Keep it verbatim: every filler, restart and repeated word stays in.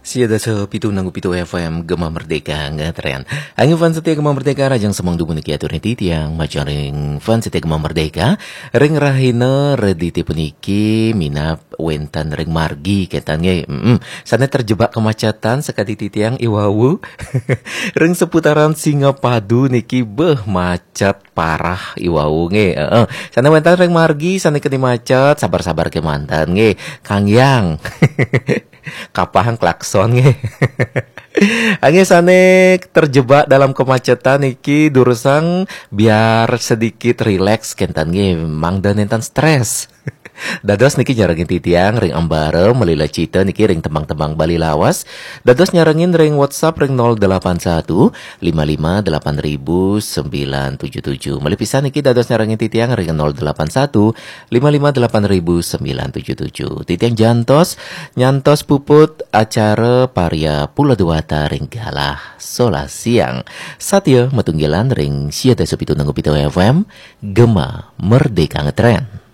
Sia dasa pitu nanggu pitu F M Gema Merdeka ngetren. Angin fans setia Gema Merdeka, rahajeng semeng dumun niki atur titiang majeng ring fans setia Gema Merdeka. Ring rahina Redite puniki minab wenten ring margi kenten nggih. Mm-mm. Sane terjebak kemacetan sakadi titiang iwau. Ring seputaran Singapadu niki beh macet parah iwau nggih. Heeh. Sane wenten ring margi sane keni macet, sabar-sabar kemanten nggih. Kang Yang. Kapahang klakson nggih. Angin sane terjebak dalam kemacetan niki durusang biar sedikit rileks kenten nggih, mangda nenten stres. Dados niki nyarengin titiang ring Ambara, Melila Cita niki ring tembang-tembang Bali lawas. Dados nyarengin ring WhatsApp ring nol delapan satu lima lima delapan ribu sembilan tujuh tujuh. Malih pisan niki dados nyarengin titiang ring nol delapan satu lima lima delapan ribu sembilan tujuh tujuh. Titiang jantos nyantos puput acara Parya Pula Dewata ring galah solas siang. Satya matunggilan ring sia dasa pitu nanggu pitu F M, Gema Merdeka ngetren.